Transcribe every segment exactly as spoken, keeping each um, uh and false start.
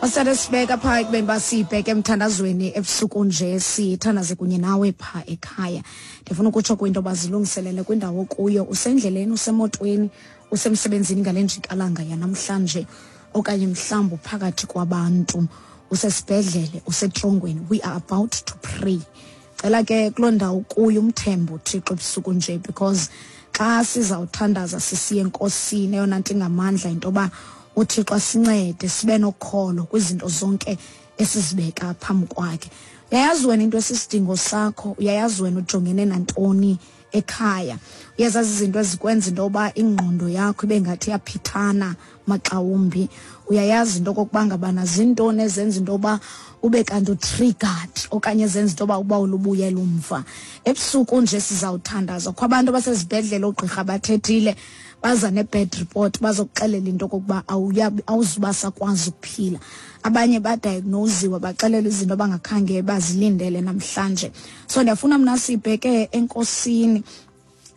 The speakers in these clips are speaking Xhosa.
Wasithatha sibeka phaa ekubeni uba sibheke emthandazweni ebusuku nje, sithandaze kunye nawe phaa ekhaya. Ndifuna ukutsho kwinto yoba zilungiselele kwindawo kuyo, usendleleni, usemotweni, usemsebenzini ngale njikalanga yanamhlanje, okanye mhlawumbi phakathi kwabantu, usesibhedlele, usetrongweni. We are about to pray. Cela ke kuloo ndawo kuyo umthembe uThixo ebusuku nje, because xa sizawuthandaza sisiye enkosini, eyona nto ingamandla into yoba uThixo asincede sibe nokholo kwizinto zonke esizibeka phambi kwakhe. Uyayazi wena into esisidingo sakho, uyayazi wena ujongene nantoni ekhaya, uyazazi izinto ezikwenza into yoba ingqondo yakho ibe ngathi iyaphithana maxawumbi, uyayazi into okokuba ngabana zintoni ezenza into yoba ube kanti utriggered okanye ezenza into yoba uba ulubuyela umva. Ebusuku nje sizawuthandaza. Kukho abantu abasezibhedlele, oogqirha bathethile, baza ne-bad report, bazokuxelela into okokuba awuzuba sakwazi ukuphila. Abanye badiagnoziwe, baxelela izinto abangakhange bazilindele namhlanje. So ndiyafuna mna sibheke enkosini,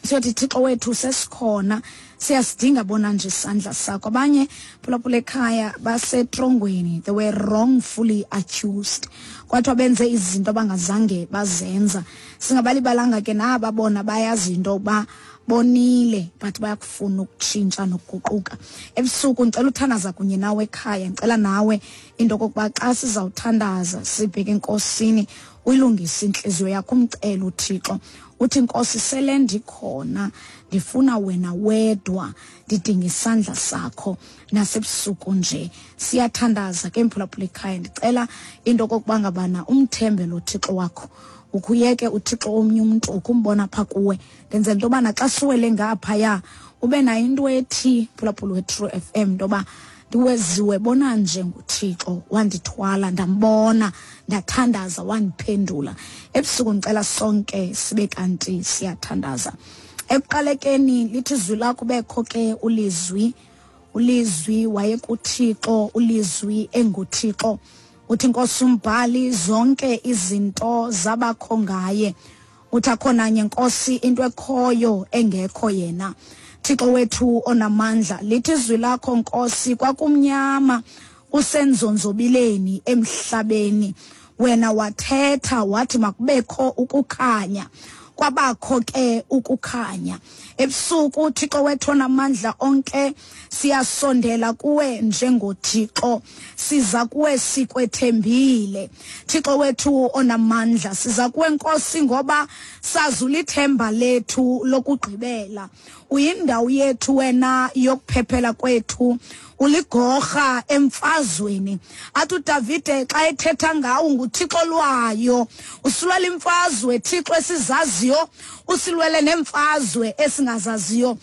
siyothi, Thixo wethu, sesikhona, siyasidinga bona nje isandla sakho. Abanye, phulaphula ekhaya, basetrongweni. They were wrongfully accused, kwathiwa benze izinto abangazange bazenza. Singabalibalanga ke naba bona bayazi into yokuba bonile, but bayakufuna ukutshintsha nokuguquka. Ebusuku ndicela uthandaza kunye nawe ekhaya. Ndicela nawe into okokuba xa sizawuthandaza sibheke enkosini, uyilungise intliziyo yakho, umcele uThixo, uthi, Nkosi, sele ndikhona, ndifuna wena wedwa, ndidinga isandla sakho nasebusuku nje. Siyathandaza ke, mphulaphula ekhaya. Ndicela into okokuba ngabana umthembe lo Thixo wakho, ukhuyeke uThixo omnye umntu ukumbona phaa kuwe. Ndenzela into yobana xa siwele ngaphaya ube nayo into ethi, phulaphula we-True F M, into yoba ndiweziwe bona nje nguThixo, wandithwala, ndambona, ndathandaza, wandiphendula. Ebusuku ndicela sonke sibe kanti siyathandaza. Ekuqalekeni, lithi izwi lakho, bekho ke ulizwi, ulizwi wayekuThixo, ulizwi enguThixo. Uthi inkosi umbhali, zonke izinto zabakho ngaye. Uthi akho nanye, Nkosi, into ekhoyo engekho yena. Thixo wethu onamandla, lithi izwi lakho, Nkosi, kwakumnyama kusenzonzobileni emhlabeni, wena wathetha wathi makubekho ukukhanya, kwabakho ke ukukhanya. Ebusuku, Thixo wethu onamandla onke, siyasondela kuwe njengoThixo, siza kuwe sikwethembile. Thixo wethu onamandla, siza kuwe, Nkosi, ngoba sazi ulithemba lethu lokugqibela, uyindawo yethu wena yokuphephela kwethu, uligorha emfazweni. Athi uDavide xa ethetha ngawo, nguThixo lwayo, usilwela imfazwe, Thixo, esizaziyo, usilwele nemfazwe esingazaziyo.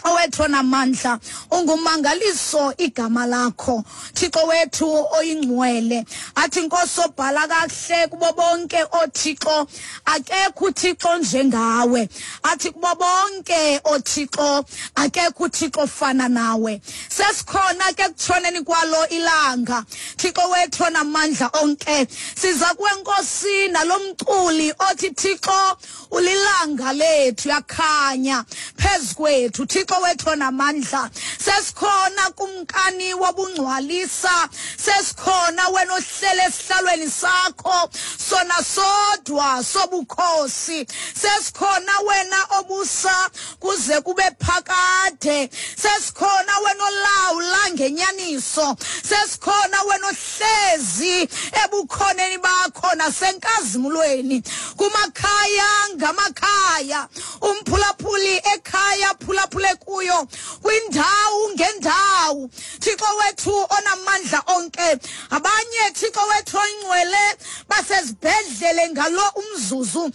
Owethu onamandla, ungumangaliso igama lakho, Thixo wethu oyingcwele. Athi inkosi obhala kakuhle, kubo bonke oothixo akekho uThixo njengawe. Athi kubo bonke oothixo akekho uThixo ofana nawe. Sesikhona ke kutshoneni kwalo ilanga, Thixo wethu onamandla onke. Siza kuwe, Nkosi, nalomculi othi, Thixo, ulilanga lethu, yakhanya phezu kwethu. Thixo wethu onamandla, sesikhona, kumkani wobungcwalisa, sesikhona wena ohlele esihlalweni sakho sona sodwa sobukhosi. Sesikhona wena obusa kuze kube phakade. Sesikhona wena olawula ngenyaniso. Sesikhona wena ohlezi ebukhoneni bakho nasenkazimulweni. Kumakhaya ngamakhaya, umphulaphuli ekhaya phulaphule kuyo, kwindawo ngendawo, Thixo wethu onamandla onke, abanye, Thixo wethu oyingcwele, basezibhedlele ngalo umzuzu,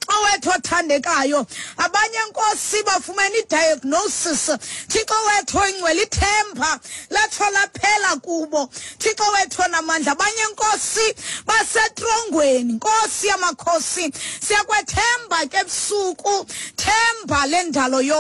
owethu othandekayo. Abanye, Nkosi, bafumene i-diagnosis, Thixo wethu oyingcwele, ithemba latsho laphela kubo, Thixo wethu onamandla. Abanye, Nkosi, basetrongweni. Nkosi yamakhosi, siyakwethemba ke ebusuku, themba lendalo yonke.